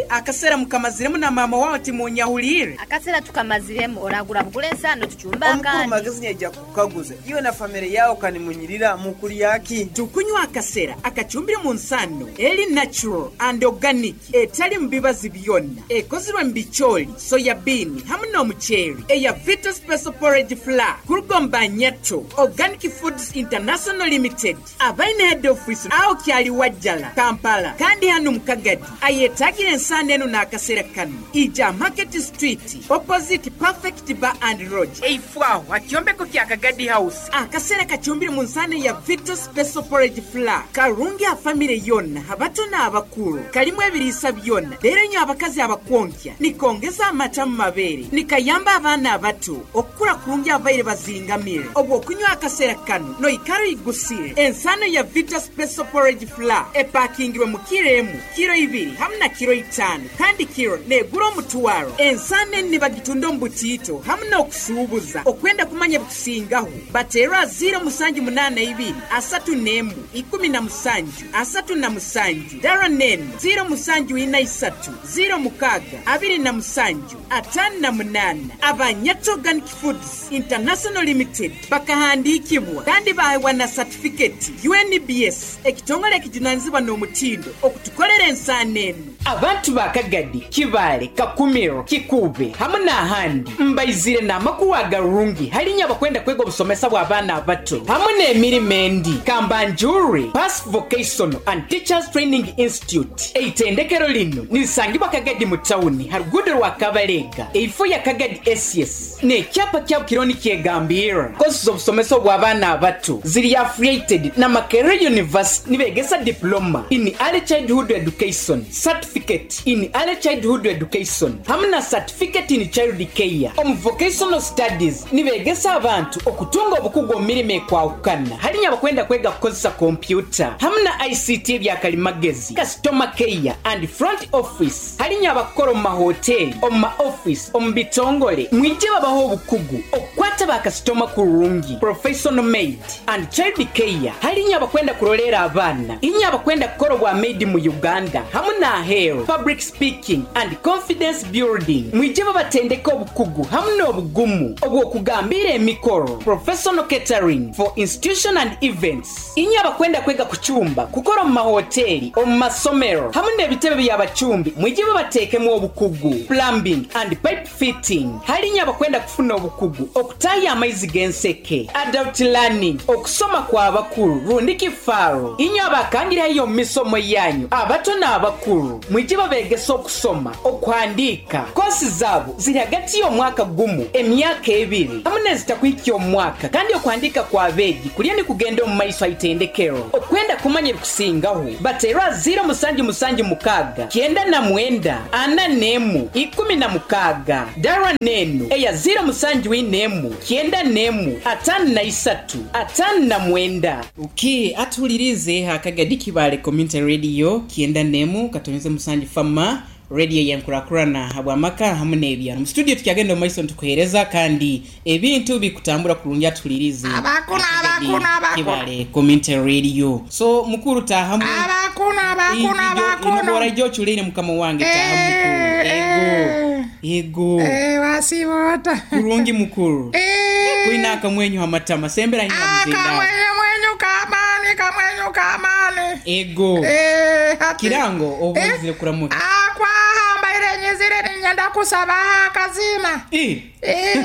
akasera mukamaziremu na mama wawe timunyahulire akasera tukamaziremu oragura bugule ensano tuchumba kandi magezi nyeja kukaguza iwe na family yao kanimunyirira mukuri yaki tukunywa akasera akachumbire mu nsano eli natural and organic etali mbibazi byonna ekozirwe mbicholi soya bean hamu n'omuceeri eya Vita Special Porridge Flour kurugomba Nyato Organic Foods International Limited abaine head office aho kyali wajjala Kampala kandi hano mukagadi ayetagira ensano eno n'akasera kano ija Market Street opposite Perfect Bar and Lodge eifwaho akyombeko kya Kagadi House akasera kachumbire mu nsano ya Vita Special Porridge Flour karungi a family yonna abato n'abakulu kalimu ebiriisa byonna leero nnyo abakazi abakonkya nikongeza amata mu mabeere nikayamba abaana abato okukula kurungi abaire bazingamire obwo okunywa akasera kano noikaro igusire ensano ya Vita Special Porridge Flour epakingirwe mu kiro emu kiro ibiri hamu na kiro itano kandi kiro negura omutwaro ensano eni nibagitunda omu butiito hamu n'okusuubuza okwenda kumanya bikusingaho bateerwa ziro musanju munaana ibiri asatu n'emu ikumi na musanju asatu na musanju dara nenu ziro musanju ina isatu ziro mukaga abiri na musanju atano na munaana Abanyato Organic Foods International Limited bakahandikibwa kandi bahewa na certificate U N B S ekitongole ekijunanizibwa n'omutindo okutu kutukolera ensaano eno. Abantu ba Kagadi, Kibaale, Kakumiro, Kikuube hamu n'ahandi mbaizire n'amakuru agarungi halinya abakwenda kwega obusomesa bw'abaana abato hamu n'emirimo endi. Kambanjure Pass Vocational and Teachers Training Institute eitendekero lino nirisangibwa Kagadi mu tawuni ha ruguudo rwa Kabalega eifo ya Kagadi S S n'ekyapa kyabo kironi kyegambira. Kosi z'obusomesa bw'abaana abato ziri affiliated na Makerere University nibegesa diploma in early childhood education, certificate in early childhood education hamu na certificate in child care. Omu vocational studies nibegesa abantu okutunga obukugu omu mirimo ekwahukana halinya abakwenda kwega kukozesa kompyuta hamu na I C T ebyakalimagezi, customer care and front office. Halinya abakora omu mahoteli, omu ma office, omu bitongole mwije babaho obukugu okukwata bakasitoma kurungi, professional maid and child care. Halinya abakwenda kurolera abaana, inya abakwenda kukora obwa maid mu Uganda hamu na aheeru, public speaking and confidence building. Mwije babatendeka obukugu hamu n'obugumu obw'okugambira emikoro, professional catering for institution and events. Inya abakwenda kwega kucumba, kukora omu mahoteli, omu masomero hamu n'ebitebe by'abacumbi mwije babateekemu obukugu, plumbing and pipe fitting. Halinya abakwenda kufuna obukugu okutaya amaizi g'enseke, adult learning, okusoma kw'abakulu rundi kifaaro. Inya abakangirayo omu misomo yanyu abato n'abakulu mwije babegesa okusoma, okuhandiika. Kosi zaabo ziri hagati y'omwaka gumu emyaka ebiri hamu n'ezitakuhikya omwaka, kandi okuhandiika kw'abeegi kulya ni kugenda omu maiso aitendekero. Okwenda kumanya ebikusingaho bateerwa ziro musanju musanju mukaaga kyenda na mwenda ana n'emu ikumi na mukaaga dara n'enu eya ziro musanju inemu kyenda n'emu ataano na isatu ataano na mwenda. Okay, atuhulirize Akagadi Kibaale Community Radio kyenda n'emu katoneze musanju fama radio yankurakurana habwamaka hamu n'ebyaro. Mu studio tukyagenda omaiso ntukuhereza kandi ebintu bikutambura kurungi atuhulirize Abakuna abakuna abakuna Kibaale Community Radio. So mukuru tahamu abakuna abakuna abakuna inobora ijo chulire mukama wange tahamu mukuru. Ego ego eh wasibota kurungi mukuru eh kuina akamwenyu hamatama sembera hina mzinda akamwenyu mwenyu kamani kamwenyu kamani ego eh hati kirango obuzire kuramuka akwa hambaire nyizire ninyenda kusaba akazina eh eh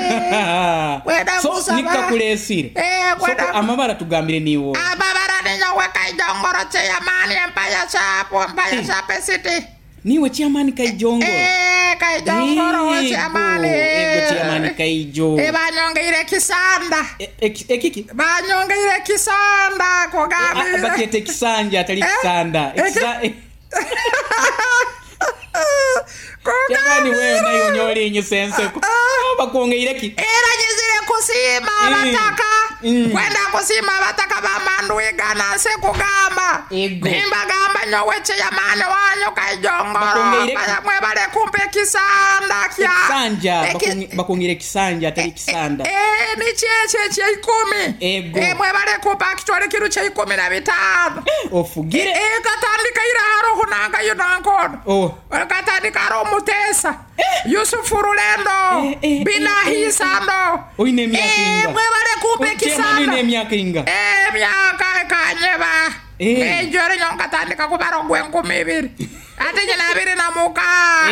wenda so kusaba nikakulesire eh so amabara tugambire niwo amabara ninyowe Kaijongoro chairman Empire Shop Empire Shop City niwe chairman Kaijongoro eh Kaijongoro we chairman ego chairman Kaijo eh banyongeire kisanda ekiki banyongeire kisanda kugambire bakete kisanja atali kisanda ekisa Jamani wewe nayo nyoli inyisense bakwongeire ki era nyizire kusima abataka kwenda kusima abataka bamanduiga nase kugamba nimbagamba nyowe chairman wanyu Kaijongoro mwebale kumpe kisanda kya kisanja bakwongeire kisanja atali kisanda eh ni cheche che ikumi eh mwebale kumpa kitwale kiru che ikumi na bitano ofugire eh katandika ira haro hunanga yunankono oh katandika ro mutesa Yusufu Rulendo Binahisando oine emyaka inga mwebale kumpe kisanda oine emyaka inga eh myaka kanyeba eh jore nyonka tandika kubaro gwenkumi ibiri ate nyina abiri na muka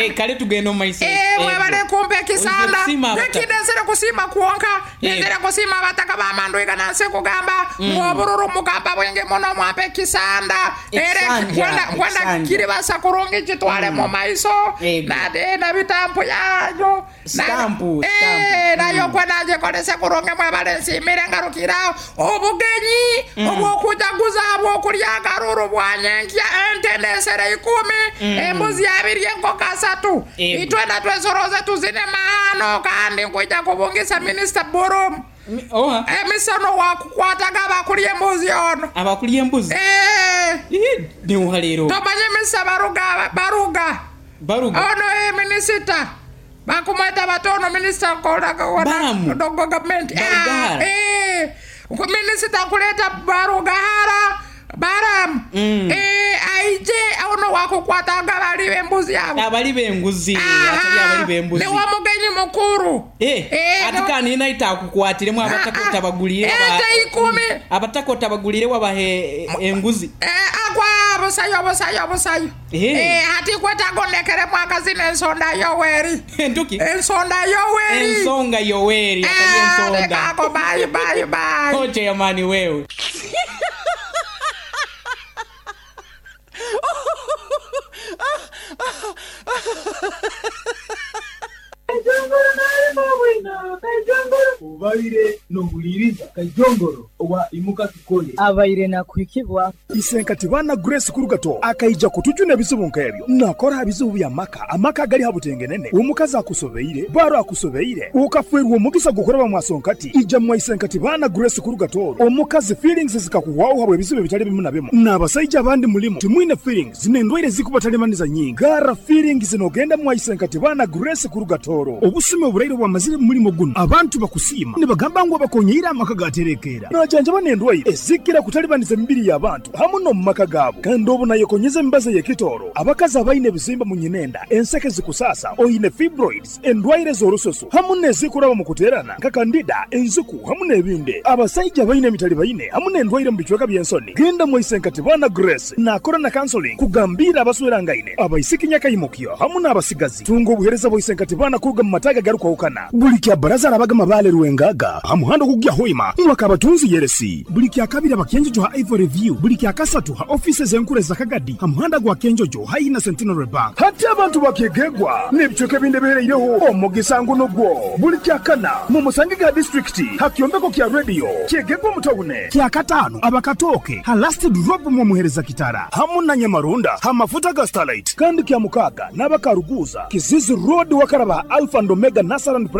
eh kale tugenda omaiso eh mwebale kumpe kisanda nekidesere kusima kuonka nendere kusima abataka bamanduiga nanse kugamba mwobururu mugamba bwenge muno mwampe kisanda ere kwenda kwenda kiribasa kurungi chitwale mu maiso na de na bitampu yanyu stampu eh nayo kwenda nje kurungi mwebale nsimire ngarukirao obugenyi obwokujaguza obwokulya akaruru bwanyenkya entendesere ikumi embuzi abiri enkoko asatu itwenda twesoroze tuzine mahano kandi nkuija kubungisa Minister Borum oha emisono wakukwataga abakulya embuzi ono abakulya embuzi eh niuha leero tomanye Mister Baruga Baruga Baruga ono e minister bakumweta batono minister kola dogo government eh minister kuleta Barugahara Baram mm. eh aije ono wakukwataga bali bembuzi yabo abali benguzi atali abali bembuzi ne wamugenyi mukuru eh, eh atikani ina itakukwatire abatako tabagulire aba ikumi abatako tabagulire wabahe enguzi eh akwa Busayo busayo busayo. Eh. Eh, hati kwetaga ondekeremu akazina ensonda yoweri. Entuki? Ensonda yoweri. Ensonga yoweri atali ensonda. Lekako bye bye bye. Kocha yamani wewe. Obaire nohuliriza Kaijongoro owa imuka tukole. Abaire nakuhikibwa. Isenkati bana Grace Kurugato akaija kutujuna ebizibu nk'ebyo nakora bizibu bya maka amaka gali habutengenene omukazi akusobeire baro akusobeire ukafwerwa omugisa gukoraba mwasonkati ija mwa Isenkati bana Grace Kurugato omukazi feelings zikakuwaho habwe ebizibu bitali bimu na bimu n'abasajja abandi mulimo timwine feelings zinendwaire zikubatalibaniza nyingi gara feelings nogenda mwa Isenkati bana Grace Kurugatoro obusime oburaire bwamazire mulimo guno abantu bakusima nibagamba ngu abakonyeire amaka gaterekera najanja banendwaire ezikira kutalibaniza emibiri y'abantu hamu no mu maka gaabo kandi obu nayekonyeza emibazi y'ekitoro abakazi abaine ebizimba mu nyinenda enseke zikusasa oine fibroids endwaire z'orusoso hamu n'ezikuraba mu kuterana nka kandida enziku hamu n'ebindi abasajja baine emitali baine hamu n'endwaire mu bicweka by'ensoni genda mwa Isenkati bana Grace nakora na counseling kugambira abaswerangaine abaisiki nyakaimukyo hamu n'abasigazi tunga obuhereza bwa Isenkati bana kuruga mu mataga garukwahukana buli kya baraza arabaga mabale rwengaga hamuhando kugya hoima mwaka abatunzi yeresi buli kya kabiri abakenjojo ha Ivory View buli kya kasatu ha offices enkure za Kagadi hamuhanda gwa Kenjojo haina Centenary Bank hati abantu bakegegwa n'ebicweka ebindi bihereireho omugisa nguno gwo buli kya kana mu musange ga district hakyombeko kya radio kyegegwa mutawune kya katano abakatoke ha last drop mu muhereza kitara hamu na Nyamarunda ha mafuta ga Starlight kandi kya mukaga n'abakaruguza Kizizi Road wakaraba Alpha and Omega Nasaran.